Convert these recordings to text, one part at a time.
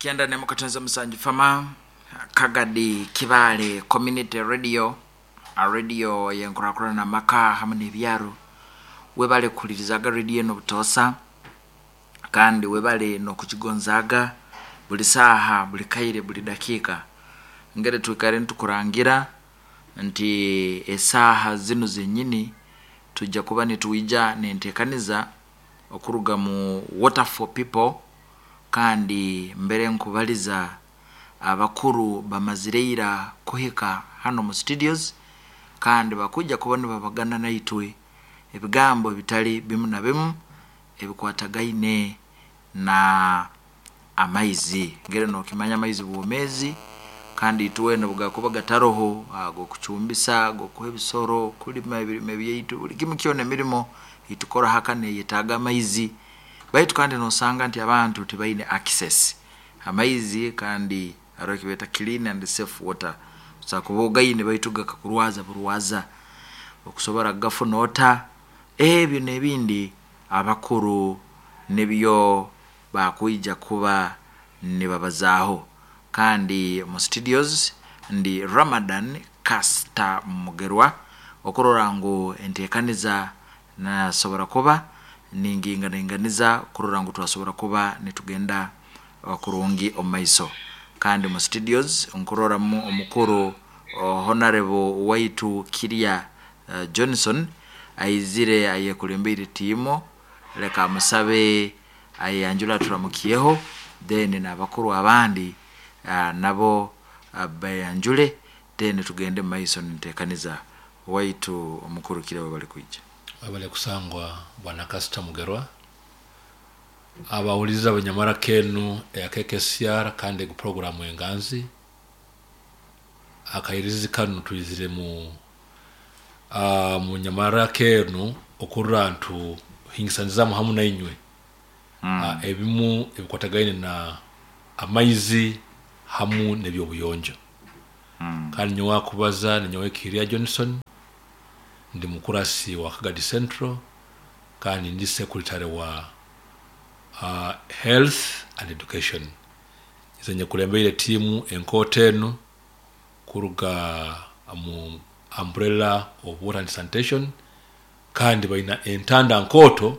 91.7 Fama Kagadi Kibaale Community Radio radio yenkurakurana amaka hamwe n'ebyaro. Webale kuhulirizaga radio enu butoosa kandi webale n'okugigonzaaga buli saaha, buli kaire, buli dakiika. Ngeri twikare nitukurangira nti esaaha zinu zenyini tujja kuba nitwija n'enteekaniza okuruga mu Water for People kandi mbere nkubaliza abakuru bamazire ira kuhika hanu omu studios kandi bakwija kuba nibabagana naitwe ebigambo ebitali bimu na bimu ebikwatagaine na amaizi. Ngeri nokimanya amaizi bwomezi kandi itwena obugakuba gataroho ag'okucumbisa, ag'okuha ebisoro, kulima ebirime byaitu, buli kimu kyona emirimo eitukora haka neyetaaga amaizi. Baitu kandi nosanga nti abantu tibaine access amaizi kandi haroho ekibeeta clean and safe water. Osobola kuba ogaine baitu gakakurwaza burwaza. Okusobora kugafuna ota? Ebyo n'ebindi abakuru nibyo bakwija kuba nibabazaaho. Kandi mu studios ndi Ramadan Kasita Mugerwa okurora ngu enteekaniza nasobora kuba ningiinganainganiza kurora ngu twasobora kuba nitugenda kurungi omu maiso. Kandi mu studios nkuroramu omukuru Honarebo waitu Kirya Johnson aizire ayekulembeire tiimu, leka amusabe ayeyanjule aturamukyeho then n'abakuru abandi nabo beyanjule then tugende omu maiso n'enteekaniza. Waitu omukuru Kirya webale kwija. Webale kusangwa Bwana Kasita Mugerwa. Abahuliriza abanyamaraka enu eya KKCR kandi egu puroguramu Enganzi. Akairizi kanu twizire mu mu nyamaraka enu okurora ntu hingisanizamu hamu nainywe ebimu ebikwatagaine na amaizi hamu n'eby'obuyonjo. Kandi nyowe akubaza ninyowe Kiria Johnson, ndi mukurasi wa Kagadi Central kandi ndi sekuritare wa Health and Education. Nyize nyekulembeire tiimu enkooto enu kuruga omu Umbrella of Water and Sanitation kandi baina entanda nkooto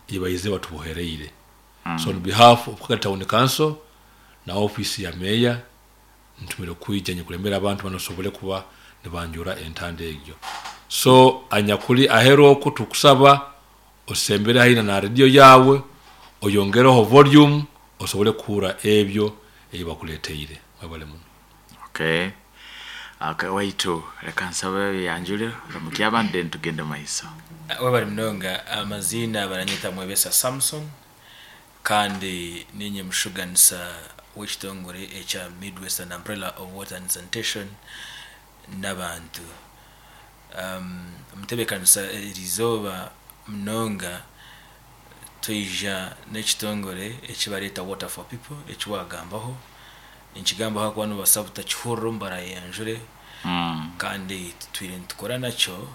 ei baizire batubohereire. So on behalf of Kagadi Town Council na ofiisi ya Meeya ntumire kwija nyekulembere abantu banu basobole kuba nibanjura entanda egyo. So anyakuli aheru oku tukusaba osembere haihi na rediyo yaawe oyongereho volume osobole kuhurra ebyo ebi bakuleteire. Mwebale muno. Okay. Okay, waitu reka nsabe oyeyanjure oramukye abandi then tugende mumaiso. Webale munonga. Amaziina baranyeta Mwebesa Samson kandi ninye mushuganisa w'ekitongore ekya Midwestern Umbrella of Water and Sanitation n'abantu. Omutebeekanisa eriizooba munonga twija n'ekitongore eki bareeta Water for People eki waagambaho. Ninkigambaho ahakuba noobaasa butakihurira omu baraayeyanjure kandi tutwire nitukora nakyo.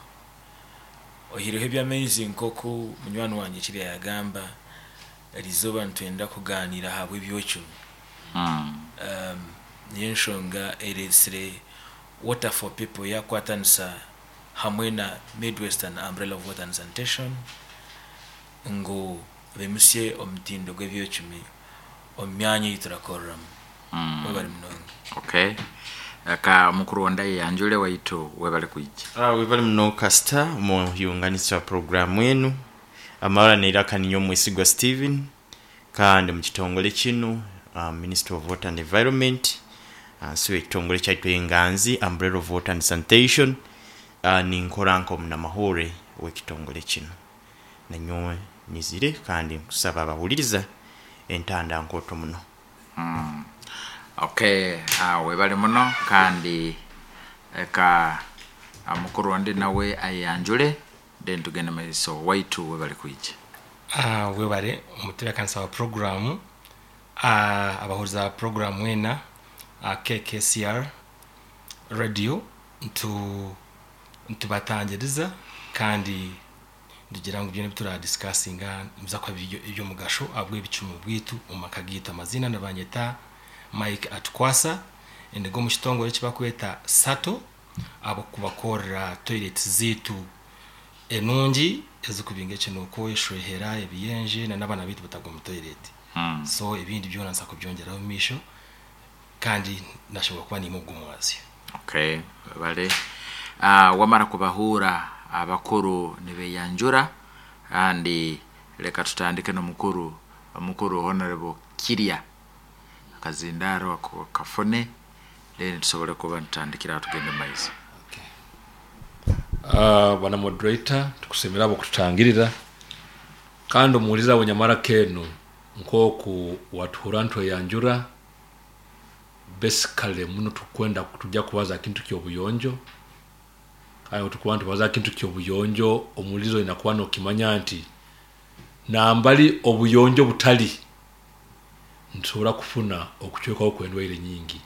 Oihireho eby'amaizi nk'oku munywani wangye Kirya yaagamba, eriizooba nitwenda kugaaniira ahabw'eby'ocumi. Niyo enshonga ereetsire Water for People yaakwatanisa hamwe na Midwestern Umbrella of Water and Sanitation ngu baimutsye omutindo gw'eby'ocumi omu myanya ei turakoreramu. Webare munonga. Okay. Reka mukuru ondi ayeyanjure waitu webale kwija. Webale muno Kasita omuhunganisa wa puroguramu enu. Amabara n'eiraka ninyowe Mwesigwa Steven kandi omu kitongole kinu Ministry of Water and Environment ahansi w'ekitongole kyaitu Enganzi Umbrella of Water and Sanitation ninkora nk'omunamahurre w'ekitongole kinu. Nanyowe nyizire kandi nkusaba abahuliriza entanda nkooto muno. Okay, webale muno kandi reka mukuru ondi nawe ayeyanjure then tugende mumaiso. Waitu webale kwija. Webare omutebekanisa wa puroguramu, abahuriza ba puroguramu mwena KKCR radio nitubatangiriza kandi nitugira ngu byona ebi turadisikasinga nibiza kuba biri eby'omugasho ahabw'ebicumi bwaitu omu maka gaitu. Amaziina nibanyeta. Mike Atukwasa, endiga omu kitongore eki barikweta SATO ahabw'okubakorera toilet zaitu enungi ezikubinga ekinuuko, eshwehera, ebiyenje na n'abaana baitu batagwa omu toilet. So ebindi byona nza kubyongyeraho omu maisho kandi nashobora kuba niimwe ogwo omwazyo. Okay, webale. Wamara kubahuura abakuru nibeyanjura kandi leka tutandike n'omukuru omukuru Honorable Kirya akazindaaro ako kafune then tusobole kuba nitutandikira aho tugende omu maiso. Bwana moderator tukusiimire ahabw'okututangirira kandi omuhuriza we nyamaraka enu nk'oku watuhurra nitweyanjura basically muno tukwenda tujya kubaza aha kintu ky'obuyonjo kandi obu tukuba nitubaza aha kintu ky'obuyonjo omuhuriza oine kuba nokimanya nti nambari obuyonjo butari nitusobora kufuna okucwekaho kw'endwaire nyingi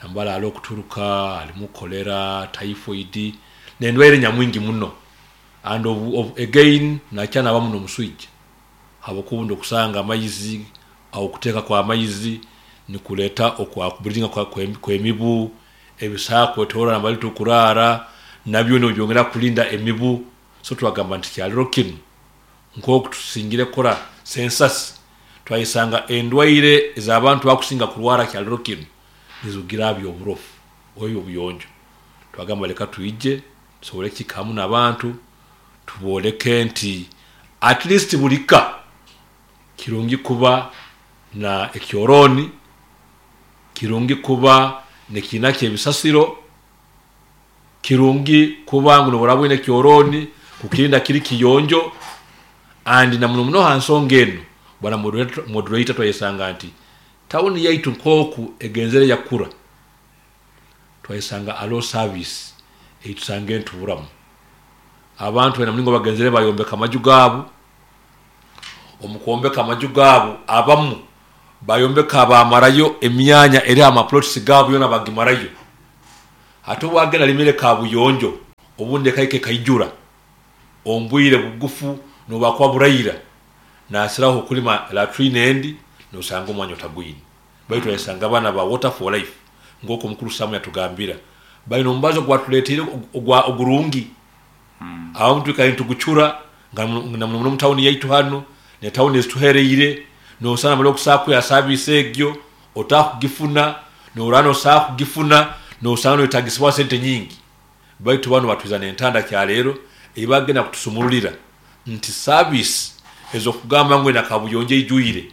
nambari hariho okuturuka harimu cholera, typhoid n'endwaire nyamwingi muno and again nakya nabamu n'omuswija habwokuba obundi okusanga amaizi okuteeka kw'amaizi nikureeta okubreedinga kw'emibu, ebisaka kwetoroora nambari tukuraara nabyo nibyongera kurinda emibu so twagamba nti kyariro kinu nk'oku tusingire kukora census twayesanga endwaire ez'abantu bakusinga kurwara kyariro kinu nizirugira aha by'oburofu oba eby'obuyonjo. Twagamba leka twije tusobole kuhika hamu n'abantu tubooleke nti at least buri ka kirungi kuba na ekyorooni, kirungi kuba n'ekiina ky'ebisasiro, kirungi kuba ngu nobu oraba oine ekyorooni kukirinda kiri kiyonjo and na muno muno aha nsonga enu bwana moderator twayesanga nti tawuni yaitu nk'oku egenzere yakura twayesanga hariho service ei tusangire nituburamu. Abantu baine omuringo bagenzere bayombeka amaju gaabo, omu kwombeka amaju gaabo abamu bayombeka bamarayo emyanya eri aha maplots gaabo yoona bagimarayo. Hati obu agenda arimire kabuyonjo obundi ekahika ekaijura omu bwire bugufu nobubakuba buraira nasiraho okulima latrine endi nosanga omwanya otagwine. Baitu twayesanga abaana ba Water for Life nk'oku omukuru Sam yatugambira baine omubazi ogubatureteire ogurungi abamu twikara nitugucura na muno muno omu tawuni yaitu hanu n'etawuni ezituhereire nosanga nambere okusobola kwiha service egyo otakugifuna noraba nosobola kugifuna nosanga noyetagisibwa sente nyingi baitu banu batwiza n'entanda kyaleero ei bagenda kutusumururira nti service ez'okugamba ngu ena kabuyonjo eijwire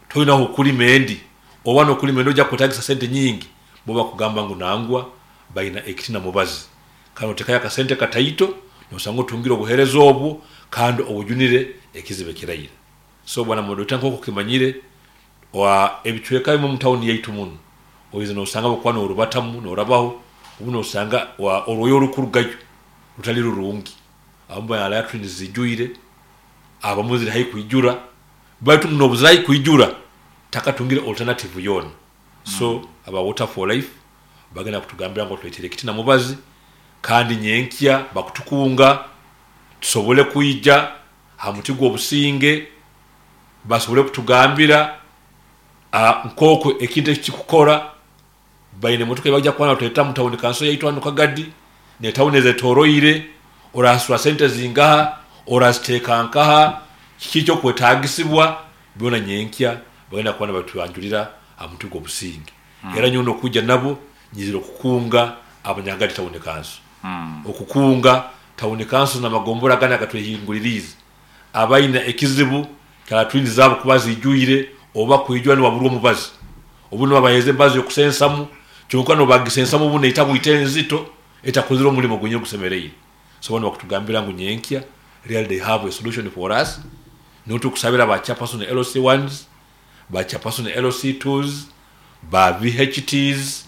toine ah'okurima endi oba n'okurima endi oija kwetagisa sente nyingi bo bakugamba ngu nangwa baina ekiti na mubazi kandi otekayo akasente kataito nosanga otungire obuhereza obwo kandi obujunire ekizibu ekiraira. So bwana moderator nk'oku okimanyire ebicweka ebimwe omu tawuni yaitu munu oize nosanga obu okuba norubatamu norabaho obu nosanga orwoya orukurugayo rutari rurungi abamu baina latrines zijwire abamu ziri haihi kwijura baitu n'obu ziri haihi kwijura takatungire alternative yoona. So aba Water for Life bagenda kutugambira ngu batureteire ekiti na mubazi kandi nyenkya bakutukunga tusobole kwija aha muti gw'obusinge basobole kutugambira nk'oku ekintu eki kikukora. Baine emotoka ei baija kuba nibatureetera omu tawuni kanso yaitu hanu Kagadi n'etawuni ezetoroire, orasasura sente zingaha, oraziteeka nkaha, kiki ekyokwetaagisibwa, byona nyenkya bagenda kuba nibatwanjurira aha muti gw'obusinge. Era nyowe n'okwija nabo nyizire okukunga Abanyakagadi tawuni kanso, okukunga tawuni kanso n'amagombora agandi agatwehinguririize abaine ekizibu kya latrine zaabo kuba ziijwire oba kwijura nibaburwa omubazi. Obundi nibabaheereza emibazi y'okusensamu kyonka n'obu bagisensamu obundi neita bwita enzito etakozire omurimo gwenyini ogusemereire. So bo nibakutugambira ngu nyenkya really they have a solution for us. Niho tukusabira ba chairperson LC ones, ba chairperson LC twos, ba VHTs,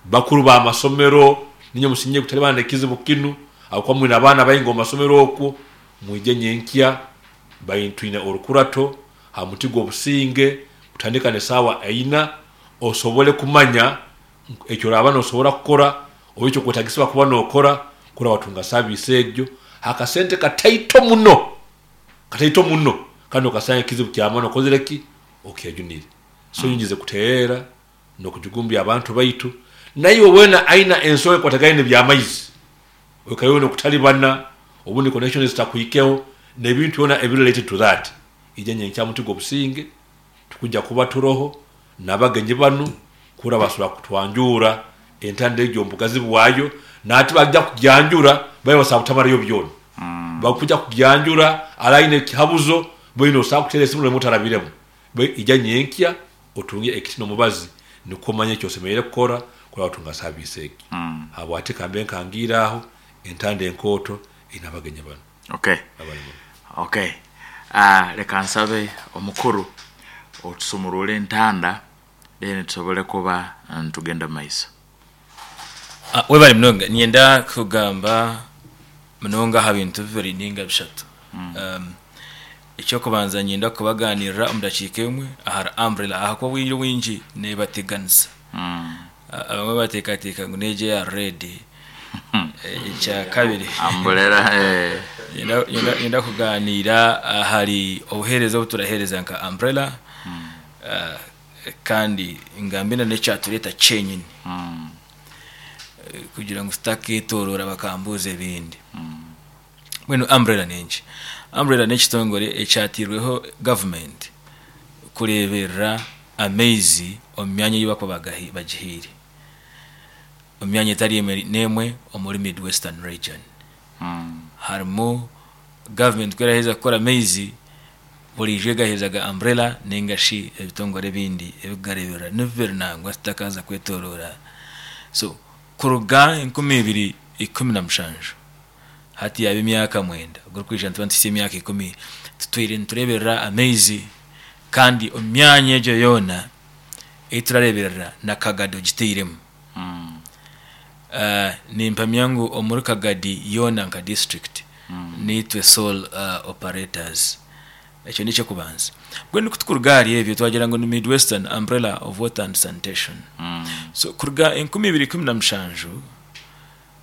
bakuru ba masomero, niinywe musingye kutalibana n'ekizibu kinu ahabw'okuba mwine abaana baingi omu masomero okwo, mwije nyenkya twine orukurato aha muti gw'obusinge kutandika n'esaawa eina osobole kumanya eki oraaba nosobora kukora oba ekyokwetagisibwa kuba nokora kurora watunga saviisi egyo aha kasente kataito muno, kataito muno kandi okasanga ekizibu ky'amaani okozire ki? Okyejunire. So nyowe nyize kuteerera. N'okugigumbya abantu baitu. Naiwe weena aina ensonga ekwatagaine n'eby'amaizi, oikaire oine okutalibana, obundi connections zitakuhikeho, n'ebintu byona ebiri related to that, ija nyenkya muti gw'obusinge, tukwija kuba turoho n'abagenyi banu kurora basobora kutwanjurra entanda egyo omu bugazi bwayo, nahati baija kugyanjura babe basobora kutamarayo byona. Bakwija kugyanjura, ara aine ekihabuzo, boine osobola kuteera esimu nobu otarabiremu. Baitu ija nyenkya otunge ekiti n'omubazi nukwo omanye eki osemeriire kukora kurora watunga saviisi egi. Habwaki kambe nkangiire aho entanda enkooto eine abagenyi banu Okay. abali muno. Okay. Ah, leka nsabe omukuru otusumurure entanda then tusobole kuba nitugenda omu maiso. Ah, webale munonga. Niinyenda kugamba munonga aha bintu bibiri ninga bishatu. Um, Eky'okubanza niinyenda kubaganirira omu dakiika emwe ahari umbrella ahakuba obwire obwingi neebateganisa. Abamwe bateekateeka ngu n'egyo eya red. Ekyakabiri, Umbrella, eh. niinyenda kugaaniira ahari obuheereza obu turaheereza nka umbrella kandi ngambe na n'ekyatureeta kyenyini kugira ngu tutakeetooroora bakambuuza ebindi. Mbwenu Umbrella n'enki? Umbrella n'ekitongore ekyatairweho gavumenti kureeberera amaizi omu myanya ei barikuba bagihaire omu myanya etari emwe n'emwe omuri Mid Western Region. Harimu gavumenti ku eraheza kukora amaizi, buriijo egaheereza ga Umbrella ninga shi ebitongore ebindi ebirikugareeberera. Ni bibiri nangwa tutakaza kwetoroora. So kuruga 2017 Hati yaaba emyaka mwenda, ogurikwija nituba nituhitsya emyaka ikumi tutwire nitureeberera amaizi kandi omu myanya egyo yoona ei turareeberera na Kagadi ogitairemu. Nimpamya ngu omuri Kagadi yoona nka disiturikiti niitwe sole operators. Ekyo n'eky'okubanza. Mbwenu ku tukuruga ahari ebyo twagira ngu ni Midwestern Umbrella of Water and Sanitation. So kuruga 2017,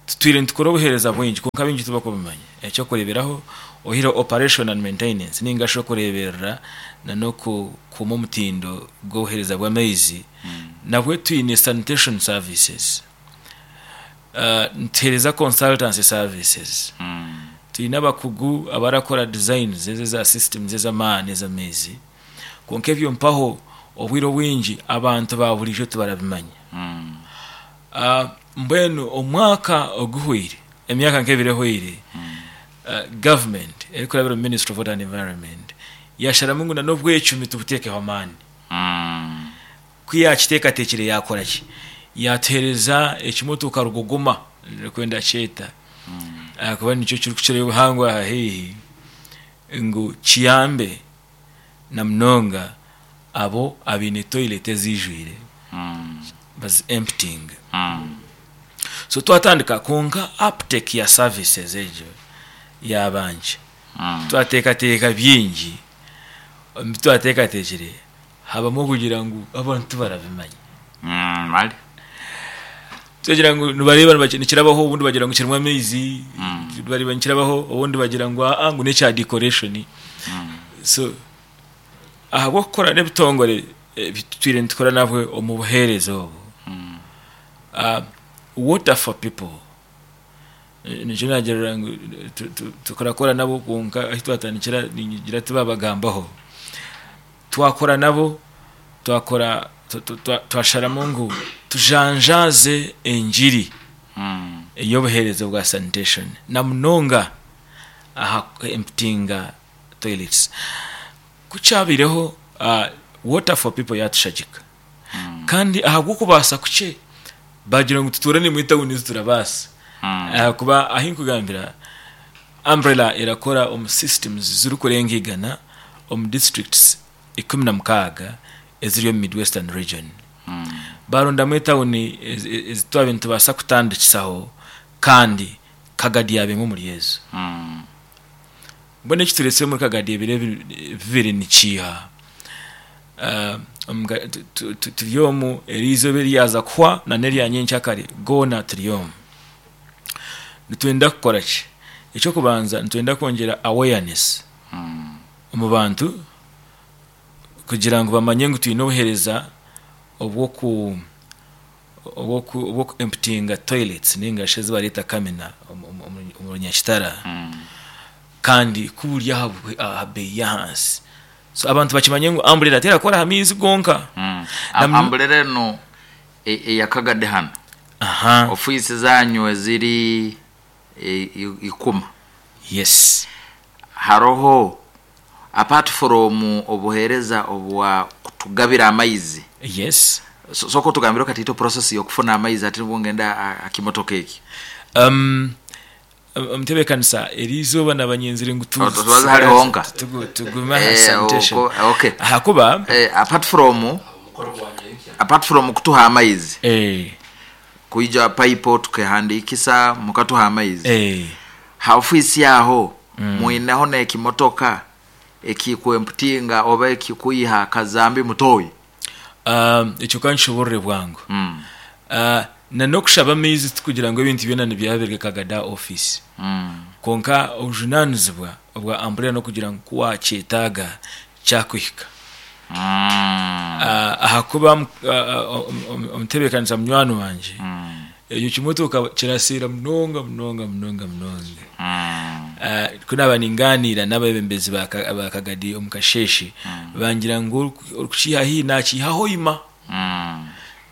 Tutwire nitukora obuheereza bwingi kwonka baingi tibakubimanya. Eky'okureeberaho, oihireho operation and maintenance ninga shi okureeberera n'okukuuma omutindo gw'obuheereza bw'amaizi, nabwo twine sanitation services, nituheereza consultancy services, twine abakugu abarakora designs ezo eza systems ez'amaani ez'amaizi. Kwonka ebyo mpaho obwire obwingi abantu ba buriijo tibarabimanya. Mbwenu omwaka oguhweire, emyaka nk'ebiri ehweire, gavumenti erikurabira omu Ministry of Water and Environment yasharamu ngu n'obwecumi tubuteekeho amaani. Ku yaakiteekateekire yaakora ki? Yaatuheereza ekimotoka rugogoma nikwo ndakyeta ahakuba nikyo kirikukirayo obuhango aha haihi ngu kiyambe na munonga abo abaine toilet eziijwire bazi emptying. So twatandika kwonka uptake ya services egyo yaaba nkye. Twateekateeka bingi, omu bi twateekateekire habamu okugira ngu abantu tibarabimanya. Twagira ngu nibareeba nikirabaho obundi bagira ngu kirimu amaizi, bareeba nikirabaho obundi bagira ngu aa ngu n'ekya decoration. So ahabw'okukora n'ebitongore ebi tutwire nitukora nabwe omu buheereza obu, Water for People nikyo naagirira ngu turakora nabo kwonka ahu twatandikira ningira tibabagambaho. Twakora nabo twakora twasharamu ngu tujanjaaze engiri ey'obuheereza bwa sanitation na munonga aha ku emptyinga toilets. Ku kyabaireho Water for People yaatushagika kandi ahabw'okubaasa kukye baagira ngu tutuure naimwe etawuni ezi turabaasa ahakuba ahu nkugambira Umbrella erakora omu systems zirikurenga igana omu districts 16 eziri omu Midwestern region. Baarondamu etawuni ezi twabaire nitubaasa kutandikisaho kandi Kagadi yaaba emwe omuri ezo. Mbwenu eki turetsire omuri Kagadi ebiro ebi bibiri nikiiha? Turi omu eriizooba eryaza kuhwa na n'erya nyenkyakare goona turi omu. Nitwenda kukora ki? Eky'okubanza nitwenda kwongyera awareness omu bantu kugira ngu bamanye ngu twine obuheereza. obw'oku obw'oku emptyinga toilets ninga shi ezi bareeta kamina omu Runyakitara kandi ku buri aha beeyi y'ahansi. So abantu bakimanye ngu amburera terakora aha maizi gonka. Amburera enu eya Kagadi hanu, ofiisi zanyu eziri Ikuma. Yes. Haroho apart from obuhereza obwa kutugabira amaizi. Yes. Soka otugambire katiito process yokufuna amaizi hati nibwo ngenda aha kimotoka eki. Omutebekanisa eri izooba naba nyenzire ngu Tubaze hari honka. tugume aha sanitation. Okay. Ahakuba Apart from apart from kutuha amaizi. Kwija pipe tukehandikisa mukatuha amaizi. Ha ofiisi aho mwineho n'ekimotoka ekikwemputinga oba ekikwiha kazambi mutoyi? Ekyo ka nkishoboorore bwangu. Na n'okushaba amaizi tikugira ngu ebintu byona nibyabirwe Kagada ofiisi. Kwonka obujunaanizibwa obwa Umbrella n'okugira ngu ku waakyetaaga kyakuhika. Ahakuba omutebeekanisa munywani wangye, ekyo kimotoka kiraseera munonga munonga munonga munonga. Ku naaba ningaaniira n'abeebembezi ba Kagadi omu kasheeshe, bangira ngu orikukiiha haihi naakiiha Hoima.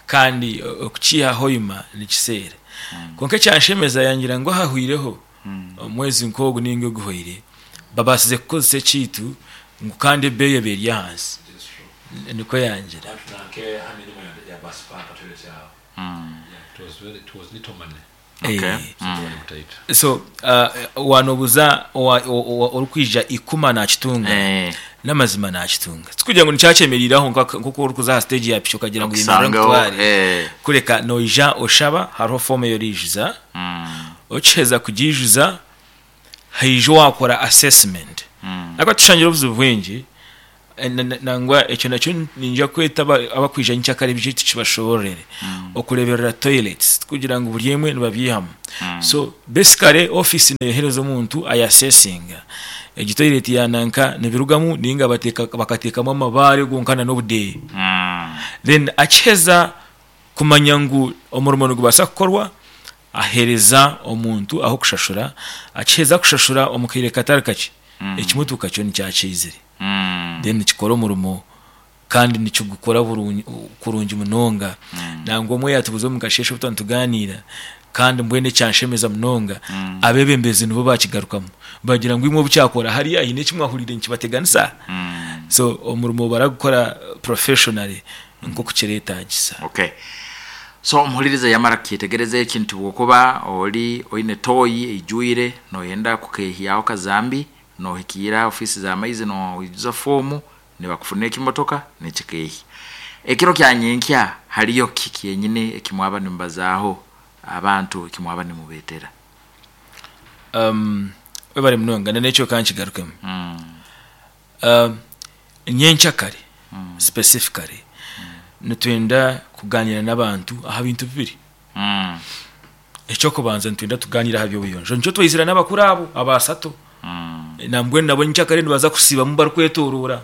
Kandi okukiiha Hoima nikiseera. Kwonka ekyanshemeza yangira ngu ahahwireho omwezi nk'ogu nainga oguhweire, babaasize kukozesa ekiitu ngu kandi ebeeyi eba eri ahansi. Nikwo yangira. So wanobuza orikwija ikuma nakitunga, namazima nakitunga. Tikugira ngu nikyakyemereire aho nkoku orikuza aha siteegi ya piki okagira ngu yemerera nkutware, kureka noija oshaba hariho foomu ei oriijuza, okiheza kugiijuza haija owakora assessment. Ahakuba tushangire obuzibu bwingi Nangwa ekyo nakyo niinyija kweta abakwija nyenkyakare baije tukibashoboororere. Okureeberera toilets tikugira ngu buri emwe nibabiihamu. So basically ofiisi neeyohereza omuntu ayasesinga egi toilet ya nanka nibirugamu nainga bakateekamu amabaare gonka n'obudeeya. Then akiheza kumanya ngu omurimo nigubaasa kukorwa, Aheereza omuntu ah'okushashura, akiheza kushashura omu kaire katari kakye, ekimotoka kyo nikyakiizire. Then nikikora omurimo kandi nikigukora kurungi munonga. Nangwa omwe yaatubuuza omu kasheeshe obu twaba nitugaaniira, kandi mbwenu ekyanshemeza munonga, abeebembezi nibo baakigarukamu. Baagira ngu imwe obu kyakora hariya haine eki mwahuriire nikibateganisa? So omurimo baragukora professionally nk'oku kireetaagisa. Okay. So omuhuririza yamara kukyetegereza eki nti bwokuba ori oine toyi eijwire noyenda kukehyaho kazambi nohikiira ofiisi za maizi noijuza foomu nibakufunira ekimotoka nikikehya. Ekiro kya nyenkya hariyo ki kyenyini ekimwaba nimubazaaho abantu ekimwaba nimubetera? Webare munonga na n'ekyo ka nkigarukemu. Nyenkyakare specifically nitwenda kugaaniira n'abantu aha bintu bibiri. Eky'okubanza nitwenda tugaaniire aha by'obuyonjo. Nikyo twaizire n'abakuru abo abaasatu. Nambwenu nabo nyenkyakare nibaza kusiibamu barikwetoroora.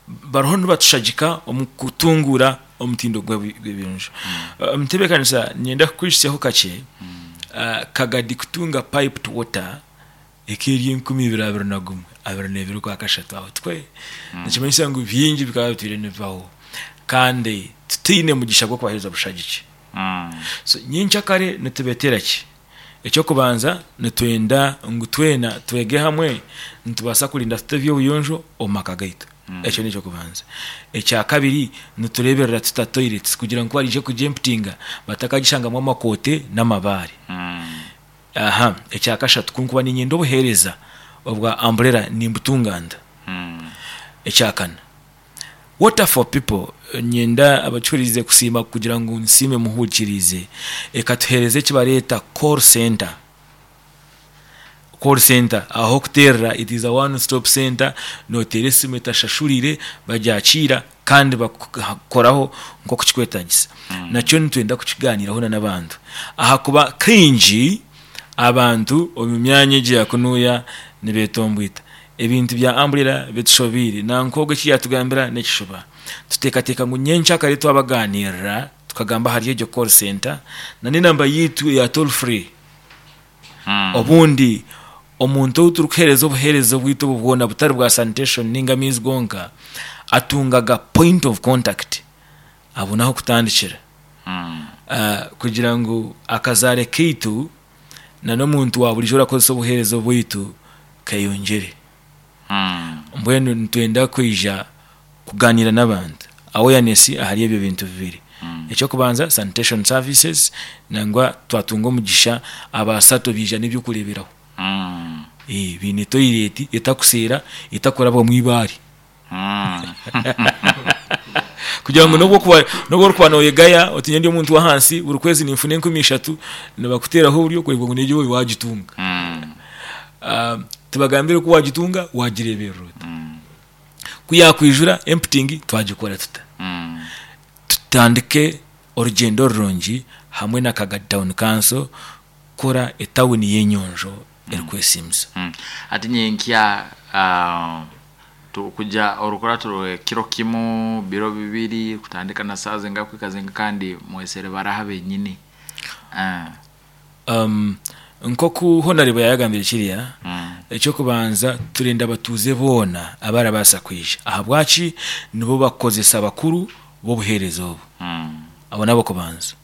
Bariho nibatushagika omu kutunguura omutindo gw'ebiyonjo. Omu ntebeekanisa niinyenda kukwijutsyaho kakye, Kagadi kutunga piped water Eka eri 2021, 22 Okwakashatu aho tikwe? Nikimanyisa ngu bingi bikaba bitwire nibibaho kandi tutaine mugisha gw'okubaheereza bushagiki. So nyenkyakare nitubeetera ki? Eky'okubanza nitwenda ngu twena twege hamwe nitubaasa kurinda tuta eby'obuyonjo omu maka gaitu. Ekyo n'eky'okubanza. Ekyakabiri nitureeberera tuta toilets kugira ngu ku baraije kugyemputinga batakagishangamu amakoote n'amabaare. Aha, ekya kashatu, ku nkuba niinyenda obuheereza obwa Umbrella nimbutunga nta? Ekya kana, Water for People, niinyenda abakihuriize kusiima kugira ngu nsiime muhurikiriize, ekatuheereza eki bareeta call centre. Call centre ah'okuteerera, it is a one stop centre, nooteera esimu etashashuriire bagyakiira kandi bakukoraho nk'oku kirikwetaagisa. Nakyo nitwenda kukigaaniiraho n'abantu ahakuba kaingi abantu omu myanya egi ya kunuya nibeetombwita. Ebintu bya Umbrella bitushobeire. Nanka ogwo eki yaatugambira n'ekishuba. Tuteekateeka ngu nyenkyakare twabaganirira tukagamba ahari egyo call center na n'enamba yaitu eya toll free. Obundi omuntu ou turikuheereza obuheereza obwaitu obu bwona butari bwa sanitation ninga amaizi gonka atungaga point of contact abone ah'okutandikira kugira ngu akazaare kaitu na n'omuntu wa buriijo orakozesa obuheereza obwaitu keyongyere. Mbwenu nitwenda kwija kugaaniira n'abantu awareness ahari ebyo bintu bibiri. Eky'okubanza sanitation services nangwa twatunga omugisha abasato baija n'eby'okureeberaho. Baine toilet etakuseera etakurabwamu eibaare. Kugira ngu n'obu okuba n'obu orikuba nooyegaya oti nyowe ndi omuntu w'ahansi buri kwezi ninfuna 3000 nibakuteeraho oburyo kureeba ngu n'egyo waagitunga. Tibagambire ku waagitunga waagireeberera ota. Ku yaakwijura emptying twagikora tuta? Tutandike orugyendo rurungi hamwe na Kagadi Town Council kukora etawuni y'enyonjo erikwesiimisa. Hati nyenkya tukuja orukurato rw'ekiro kimu, biro bibiri, kutandika na saaha zingahi kuhika zingahi kandi mwesere baraha benyini? Nk'oku Honarebo yaayagambire kiriya, eky'okubanza turenda abatuuze boona abarabaasa kwija. Ahabwaki? Nibo bakozesa bakuru b'obuheereza obu. Abo n'ab'okubanza.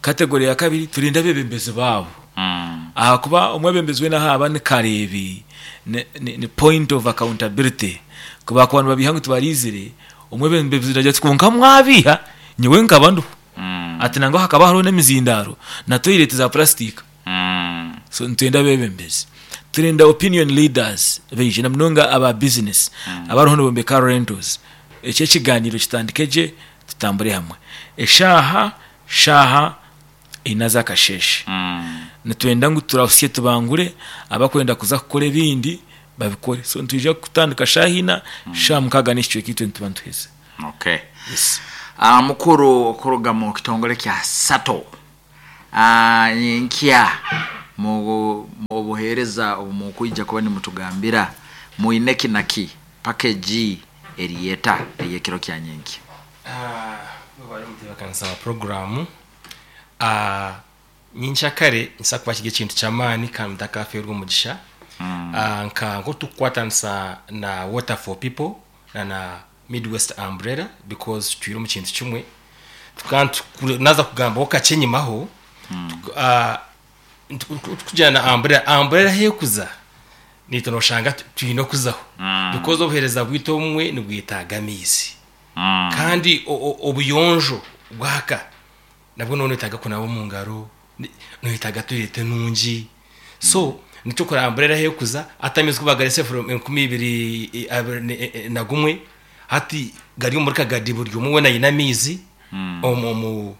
Kategore ya kabiri, turenda abeebembezi baabo. Ahakuba omwebembezi weena ahu aba ni kareebi, ni point of accountability. Ku baakuba nibabiiha ngu tibaraizire, omwebembezi naagira ati kwonka mwabiiha, nyowe nkaba ndiho. Ati nangwa hakaba hariho n'emizindaaro na toilet za purasitika. So nitwenda abeebembezi. Turenda opinion leaders baije na munonga aba business abariho nibombeka rentals. Eki ekigaaniiro kitandike gye tutambure hamwe. Eshaaha shaaha ina z'akasheeshe. Nitwenda ngu turahusye tubangure abakwenda kuza kukora ebindi babikore. So nitwija kutandika shaaha ina, shaaha mukaaga n'ekicweka itwe nituba nituheza. Okay. Yes. Mukuru okuruga mu kitongole kya Sato nyenkya mu obuheereza obu mukwija kuba nimutugambira mwine ki na ki package eri eta ey'ekiro kya nyenkya? Webale omutebeekanisa wa puroguraamu. Nyenkyakare nikibaasa kuba kiri ekintu ky'amaani kandi mutakafeerwa omugisha. Nka nk'oku turikukwatanisa na Water for People na na Midwest Umbrella because tutwire omu kintu kimwe. Tukaba naaza kugambaho kakye enyimaho, tukugira na Umbrella, Umbrella ahu erikuza naitwe nooshanga twine okuzaho because obuheereza bwaitu obumwe nibwetaaga amaizi kandi obuyonjo bw'aka nabwo nooba noyetaaga kunaaba omu ngaro, noyetaaga toyireti enungi so nikyo kureba umbrella ahu erikuza hati amaizi ku bagaretsire from 2021 hati gari omuri Kagadi buri omwe weena aine amaizi omu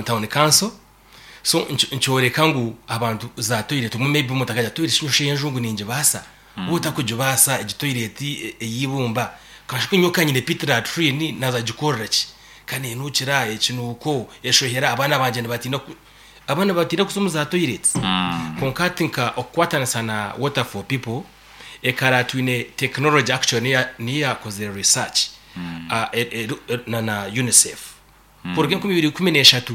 town council so nikyoreka ngu abantu za toyireti obumwe maybe omuntu akagira toyireti shi nyowe enju ngu ningibaasa waaba otakugibaasa egi toyireti ey'eibumba kasha nyowe ka nyine pit latrine naaza kugikorera ki ka neenuukira ekinuuko eshohera abaana bangye nibatiina abaana nibatiina kuza omu za toyireti kwonka hati nka okukwatanisa na water for people ekara twine tekinologi actually niyo yaakozire research na UNICEF kuruga 2013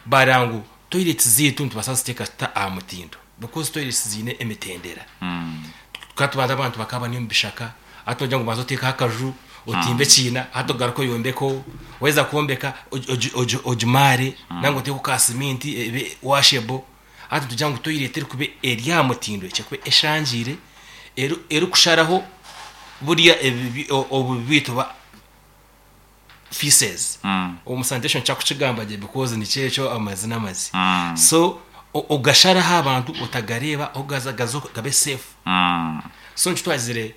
baareeba ngu toyireti zaitu nitubaasa kuziteeka tuta aha mutindo because toyireti ziine emitendera. Tukaba tubanza abantu bakaba bari omu bishaka hati nogira ngu banza oteekeho akaju otimbe ekiina hati ogaruke oyombekeho waheza kwombeka ogimaare nangwa oteekeho ka siminti ebe washable hati nitugira ngu toyireti erikuba eri aha mutindo ekye kuba eshangiire erikusharaho buriya obubi bwaitu oba feces omu sanitation kyakukigamba gye because nikyo ekyo amazi n'amazi so ogasharaho abantu otagareeba ogaza gaze gabe safe so nikyo twagizire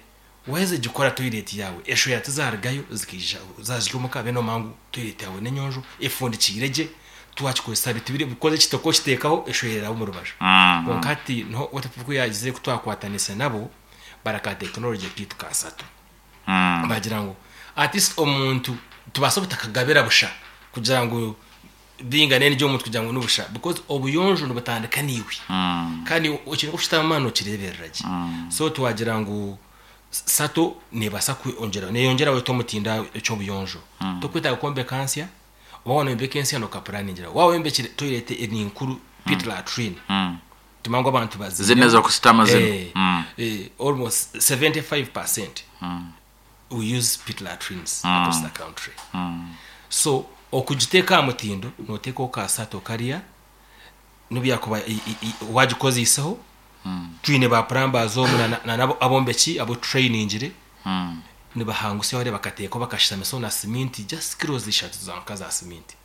waheza gikora toilet yaawe eshoya tizarugayo zikaija zazirya omuka be nomanya ngu toilet yaawe n'enyonjo efundikiire gye twakikozesa bitibire because ekitaka okiteekaho eshoya eraba omu rubaju kwonka hati niho water ku yagizire ku twakwatanisa nabo baraka tekinology kaitu kasatu. Bagira ngu at least omuntu tubaasa obutakagabira busha kugira ngu bingane n'egi omuntu kugira ngu nibusha because obuyonjo nibutandika naiwe kandi ekintu oku okitamu amaani nokireeberera gye. So twagira ngu. Sato neebaasa kwongyera neeyongyera weta omutindo eky'obuyonjo. Tokwetaaga kwombeka nsya, oba waaba noyombeka ensya nookapuraningira. Waaba oyombekire toyireti eri nkuru pit latrine, tumanye ngu abantu Zinu baziineho ez'okusitama zinu. Eh, almost 75% we use pit latrines across the country. So okugiteeka aha mutindo nooteekaho ka sato kariya n'obu yaakuba waagikozeiseho, twine ba plumbers omu na n'abombeki abu tutrainingire, nibahangusya bariya bakateekaho bakashitamisaho na siminti just kilos ishatu zonka za siminti.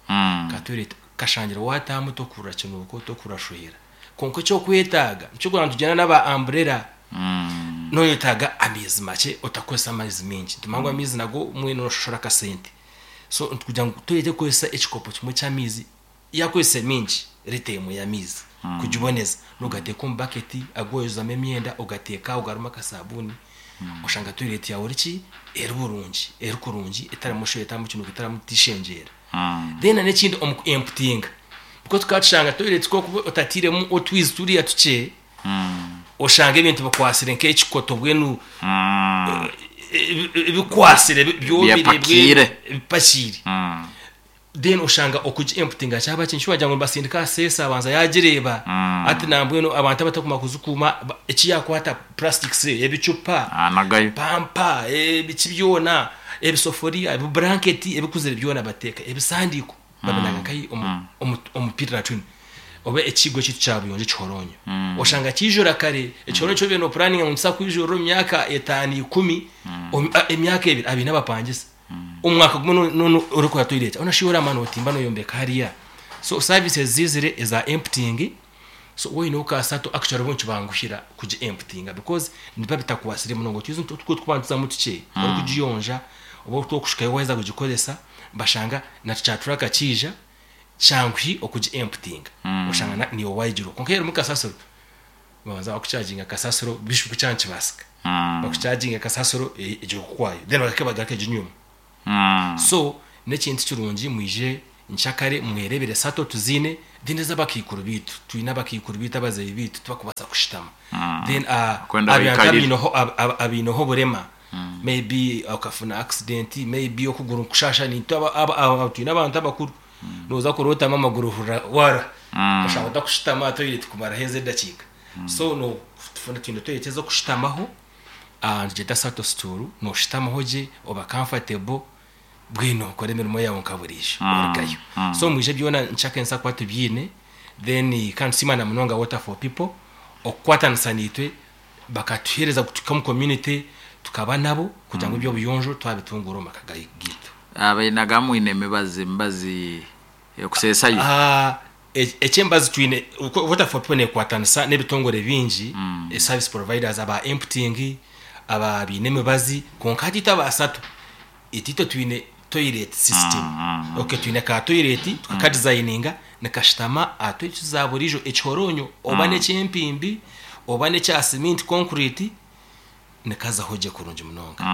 Ka toilet kashangire waataahamu tokuhurira kinuuko, tokuhurira shuhera. Kwonka eky'okwetaaga nikyo orikureeba nitugyenda n'aba umbrella, nooyetaaga amaizi makye otakukozesa amaizi maingi. Nitumanya ngu amaizi nago mbwenu nooshashura akasente. So kugira ngu toilet ekukozesa ekikopo kimwe ky'amaizi, Yaakozesa mingi rita emwe y'amaizi kugiboneza, n'ogateeka omu baketi agu oyozamu emyenda ogateeka aho garimu akasabuuni, oshanga toyireti yaawe eri ki? Eri burungi, eri kurungi etarimu sho etarimu kinuuko etarimu tishengyera. Then n'ekindi omu ku emputinga, because tukaba tushanga toyireti ku orikuba otatiiremu otwizi turiya tukye, oshanga ebintu bikwatsire nk'ekikoto mbwenu bikwatsire byomire mbwenu Byepakiire. bipakiire. Then oshanga okugi emptyinga kyaba kintu wagira ngu nibasindika aha seesa abanza yagireeba hati nambwenu abantu abatakumanya kuzikuuma eki yakwata plastics ebicupa Anagayo. pampa ebiki byona ebisoforiya ebiburanketi ebikuzire byona bateeka ebisandiiko babinaga nkahi omu omu pit latrine oba ekigo kyaitu kya buyonjo ekihoronyo oshanga kijura kare ekihoronyo eki obaire nopuraninga ngu nikiza kwijurira omu myaka etaano ikumi emyaka ebiri abaine abapangisa. Omwaka gumwe no- no- orikora toilet aho nashuba oraba notimba noyombeka hariya so services zizire eza emptying so waine ka sato actually bo nikibanguhira kugi emptyinga because nibiba bitakwasire munonga otwizi nitwo tukuba nituzamu tukye orikugiyonja oba otwokushukayo waheza kugikozesa bashanga na kya truck kiija kyanguhi okugi emptyinga oshanga na niiwe wayigira kwonka erimu kasasiro Nibabanza bakucharginga kasasiro bishu ku kyaba nikibaasika bakucharginge kasasiro egyo okwayo then bagaruke bagaruke eginyuma so n'ekintu kirungi mwije nkyakare mwerebere sato tuziine then ez'abakaikuru baitu twine abakaikuru baitu abazeeyi baitu tibakubaasa kushutama then Kwenda abantu baikarire. abaineho abaineho oburema maybe okafuna accident maybe okuguru nikushasha nitwe twine abantu abakuru Nooza kurootama amaguru ohurira waruha oshanga otakushutama aha toilet kumaraho ezo edakiika. So notufuna twine toilet ez'okushutamaho nitugyeta sato stool, nooshutamaho gye oba comfortable mbwenu okore emirimo yaawe nka buriijo orugayo. So mwije byona nkyaka ensi ahakuba tubyine then kandi tusiima na munonga Water for People okukwatanisa naitwe bakatuheereza kutuhika omu community tukaba nabo kugira ngu eby'obuyonjo twabitunguura omu maka gaitu. Abainaga mwine emibazi emibazi ekuseesayo? Eky'emibazi twine, Water for People neekwatanisa n'ebitongore bingi, service providers aba emptying, aba baine emibazi, kwonka hati itwe aba SATO, itwe twine toilet system. Okay, twine ka toilet tukakadizayininga nikashutama aha toilet za buriijo, ekihoronyo oba n'eky'empimbi oba n'ekya siminti concrete, nikazaho gye kurungi munonga.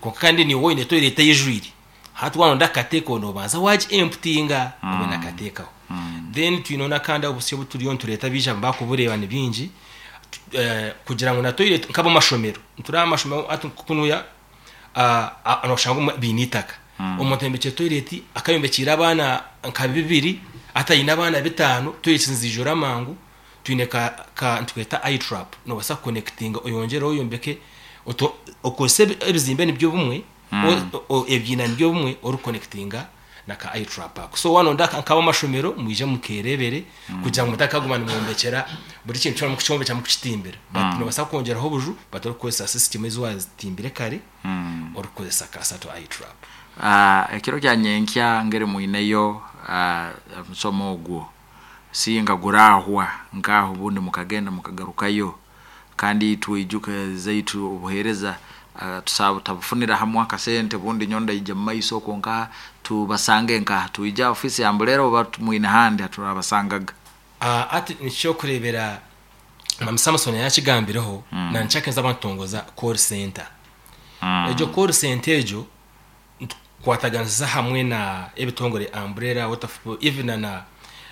Kwonka kandi niiwe oine toilet eijwire, hati waaba noyenda kukateekaho noobanza waagi emputinga obone kukateekaho. Then twineho n'akandi obusyo obu turiyo nitureeta baija bakubureeba ni bingi, kugira ngu na toilet nk'ab'amashomero, nitureeba amashomero hati kunuya noshanga obumwe baine eitaka, omuntu ayombekire toilet akayombekyeire abaana nka bibiri hati aine abaana bitaano, toilet niziijura amangu. Twine ka ka nitweta eye trap nobaasa kukonekitinga oyongyere oyombeke oto okozese ebizimbe nibyo bimwe ebiina nibyo bimwe orikukonekitinga na ka eye trap ako. So waaba noyenda nk'ab'amashomero mwije mukeerebere kugira ngu mutakaguma nimwombekyera buri kintu kyona murikukyombekya murikukitimbira but nobaasa kwongyeraho obuju but orikukozesa system ezi waatimbire kare orikukozesa ka sato eye trap. Ekiro kya nyenkya ngeri mwineyo omusomo ogwo. Singa gurahwa nkaho obundi mukagenda mukagarukayo kandi itwe ijuka zaitu obuhereza tusaba tabufunira hamu akasente obundi nyowe ndaija mumaiso okwo nkaha tubasange nkaha twije ha ofisi ya Ambulera oba mwine handi haturabasangaga. Hati nikyokurebera Mwami Samson yakigambireho na nikyo nzaba nitutongoza call center. Egyo call center egyo Nitukwataganisiza hamwe na ebitongore Umbrella, Water for People even na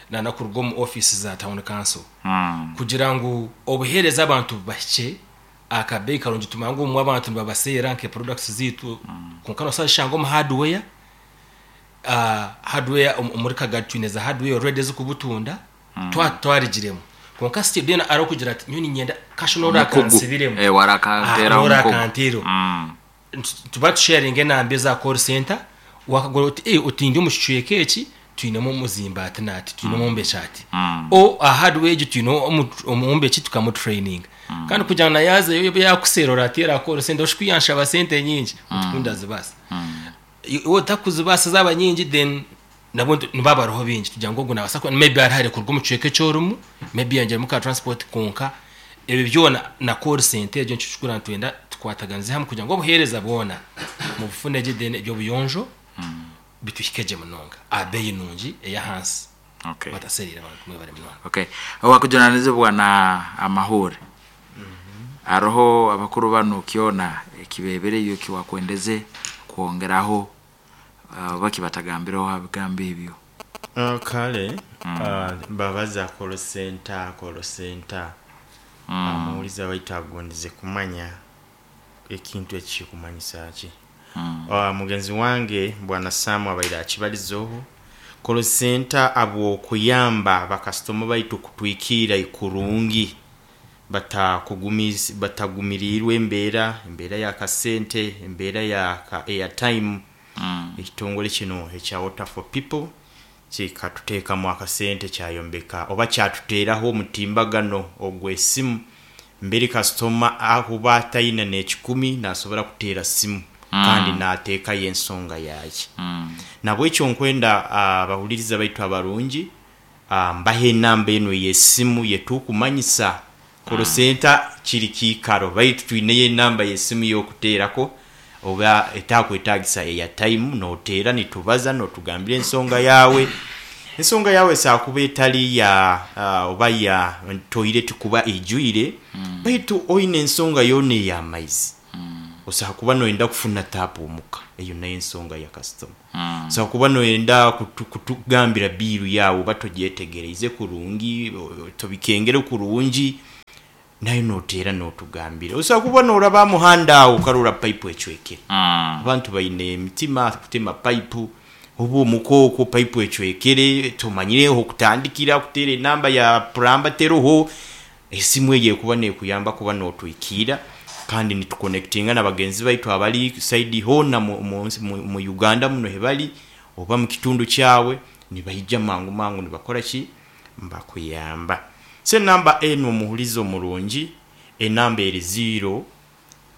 na nakuruga omu office za town council kugira ngu obuhereza abantu bubahikye. Akabeeyi karungi tumanya ngu obumwe abantu nibabaseera nke products ziitu, kwonka nosobola kushanga omu hardware, hardware omuri Kagadi twine za hardware already ezikubutunda, twaba tutwarigiremu. Kwonka still then hariho okugira ati nyowe niinyenda cash Omukugu. n'oraakansibiremu. Eh, warakanteeraho omukugu. N'orakanteereho. Nituba tusharinga enamba eza call center, wakagura oti eh oti ndi omu kicweka eki twinemu omuzimbi ati n'ati, twine omwombeki ati. Or aha hardware egi twine omwombeki tukamutureyininga. Kandi kugira ngu na yaazayo yaakuseera orateera aha call center oshushe ku yanshaba sente nyingi, oti ku ndazibaasa. Iwe otakuzibaasa zaaba nyingi then nabwo nibaba bariho baingi kugira ngu ogu naabaasa kuba maybe ari hare kuruga omu kicweka eki orimu, maybe yayongyeramu ka transport kwonka ebyo byona na call center egyo nikyo kikuru nitwenda tukwataganize hamwe kugira ngu obuheereza bwona mubufune gye then eby'obuyonjo bituhike gye munonga aha beeyi nungi ey'ahansi Okay. batasereire abantu mwebare munonga. Okay. Owakujunanizibwa na amahuure. Haroho abakuru banu kyona ekibebereyo ekiwakwendeze kwongeraho oba kibatagambireho ha bigambo ebyo? Kale babaza call center, call center, omuhuriza waitu agondize kumanya ekintu eki kikumanyisa ki. Mugenzi wange Bwana Sam abaire akibarizeho, call center abw'okuyamba bakasitoma baitu kutwikiira kurungi batagumiriirwe embeera, embeera ya kasente, embeera ya airtime. Ekitongore kinu ekya Water for People kikatuteekamu akasente kyayombeka oba kyatuteeraho omutimbagano ogw'esimu mbere kasitoma akuba ataine n'ekikumi nasobora kuteera simu kandi nateekayo ensonga yaye. Nabwekyo nkwenda abahuliriza baitu abarungi mbahe enamba enu ey'esimu yetukumanyisa Call center kiri kiikaro baitu twineyo enamba y'esimu y'okuteerako oba etakwetagisa airtime noteera nitubaza notugambira ensonga yaawe. Ensonga yaawe esobola kuba etali ya oba ya toilet kuba eijwire baitu oine ensonga yoona ey'amaizi. Osobola kuba noyenda kufuna taapu omuka, eyo nayo ensonga ya kasitoma. Osobola kuba noyenda kutugambira biiru yaawe oba togyetegereize kurungi, tobikengere kurungi, nayo noteera notugambira. Osobola kuba noraba aha muhanda aho okarora paipu ecwekere. Abantu baine emitima kutema paipu, oba omuka okwo paipu ecwekere, tomanyire ahokutandikira kuteera enamba ya puramba teroho, Esimu eyo ekuba nekuyamba kuba notwikiira kandi nitukonekitinga na bagenzi baitu abari saidi hoona mu Uganda muno hibari oba mukitundu kyawe nibaija mangu mangu nibakora ki? Nibakuyamba. So enamba enu omuhuriza omurungi enamba eri ziiro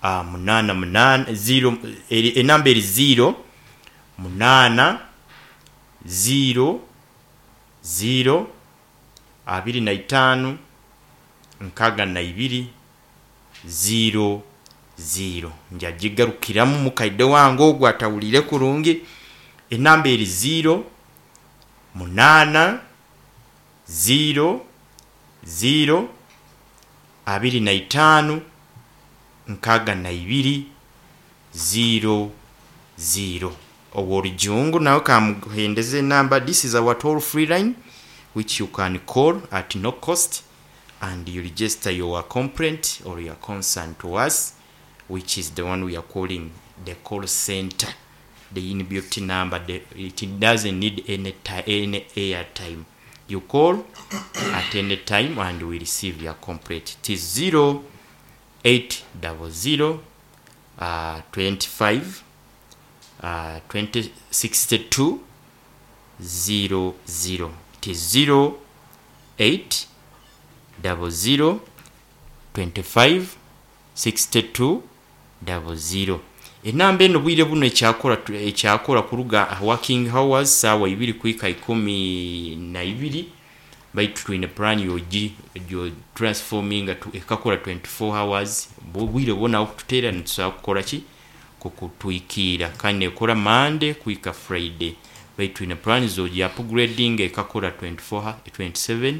munaana munaana ziiro enamba eri ziiro munaana ziiro ziiro 25, 62, 0, 0. Njagigarukiramu mukaide wange ogu atawuliire kurungi. Enamba eri 0, 8, 0, 0, 25, 62, 0, 0. Ow'orujungu nawe kamuhendeze enamba, this is our toll free line which you can call at no cost and you register your complaint or your concern to us which is the one we are calling the call center, the inbuilt number, the, it doesn't need any, any airtime. You call at any time and we receive your complaint. It is 0800 25 20 62 00. It is 08 00 25 62 00. Enamba enu obwire bunu ekyakora ekyakora kuruga aha working hours saawa ibiri kuhika 12 baitu twine plan yogi yo transforminga ekakora 24 hours obwire bwona okututeera nitusobola kukora ki? Kukutwikiira kandi nekora Monday kuhika Friday baitu twine plan zogi upgradinga ekakora 24 27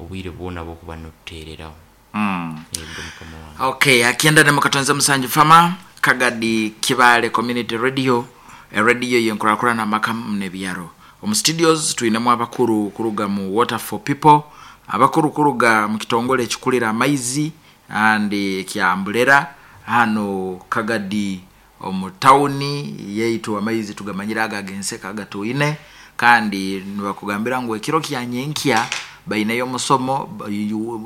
obwire bwona bwokuba notuteereraho. Yego mukama wange. Okay, akienda ne mukatonze musanju fama Kagadi Kibale Community Radio, radio yenkurakurana amaka nebyaro. Omu studios twinemu abakuru kuruga mu Water for People, abakuru kuruga mu kitongole ekikurira amaizi. Kandi ekya Umbrella hanu Kagadi omu tawuni yaitu, amaizi tugamanyire aga ag'enseka agatwine. Kandi nibakugambira ngu ekiro kya nyenkya baineyo omusomo.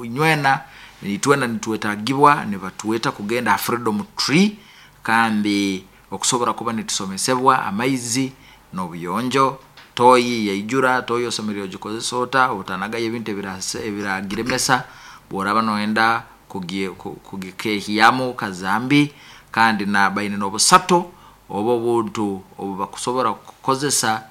Nywena itwena nitwetagibwa, nibatweta kugenda ha Freedom Tree kandi okusobora kuba nitusomesebwa amaizi n'obuyonjo. Toyi yaijura, toyi osemerire ogikozesa ota, otanagayo ebintu ebiragiremesa bworaba noyenda kugikehyamu kazambi. Kandi na baine n'obusato oba obuntu obubakusobora kukozesa,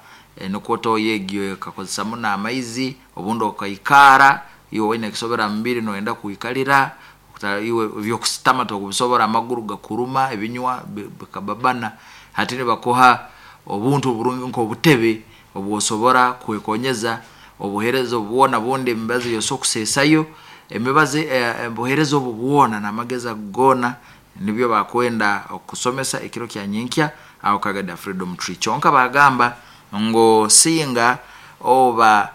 nukwo toyi egyo ekakozesa muno amaizi. Obundi okaikara iwe oine ekisobera mubiri, noyenda kwikalira, iwe ebyokusitama tokubisobora, amaguru gakuruma, ebinywa bikababana. Hati nibakuha obuntu oburungi nk'obutebe obwosobora kwekonyeza. Obuhereza obu bwona, bundi emibazi yosobora kusesayo emibazi, obuhereza obu bwona n'amagezi ago goona nibyo bakwenda okusomesa ekiro kya nyenkya aho Kagadi Freedom Tree. Kyonka bagamba ngu singa oba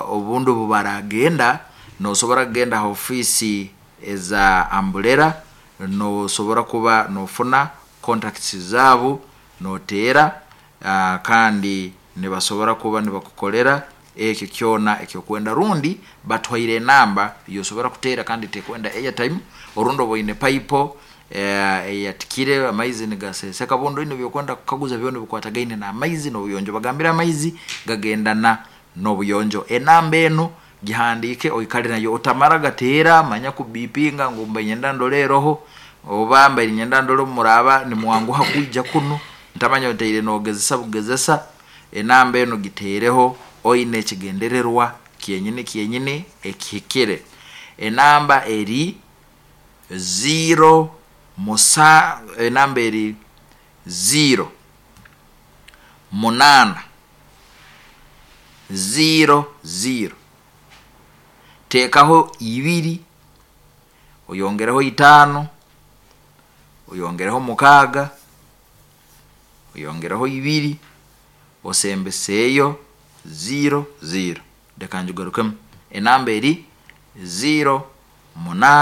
obundi obu baragenda, nosobora kugenda ha ofiisi eza Umbrella, nosobora kuba nofuna contacts zaabo, noteera, kandi nibasobora kuba nibakukolera ekyo kyona ekyokwenda, rundi batuhaire enamba yosobora kuteera kandi tekwenda airtime. Orundi oba oine paipo eyatikire, amaizi nigaseseka, bundi oine ebyokwenda kukaguza byona bikwatagaine n'amaizi n'obuyonjo. Bagambire amaizi gagendana n'obuyonjo. Enamba enu gihandiike oikale nayo, otamara gateera manya kubipinga ngu mbaire nyenda ndole eroho, oba mbaire nyenda ndole omuraba nimwanguha kwija kunu, ntamanya otaire nogezesa bugezesa. Enamba enu giteereho oine ekigendererwa kyenyini kyenyini ekihikire. Enamba eri 0 musa, enamba eri 0 8 0 0, teekaho 2, oyongereho 5, oyongereho 6, oyongereho 2, osembeseeyo 0 0. Reka ngigarukemu, enamba eri 0 8.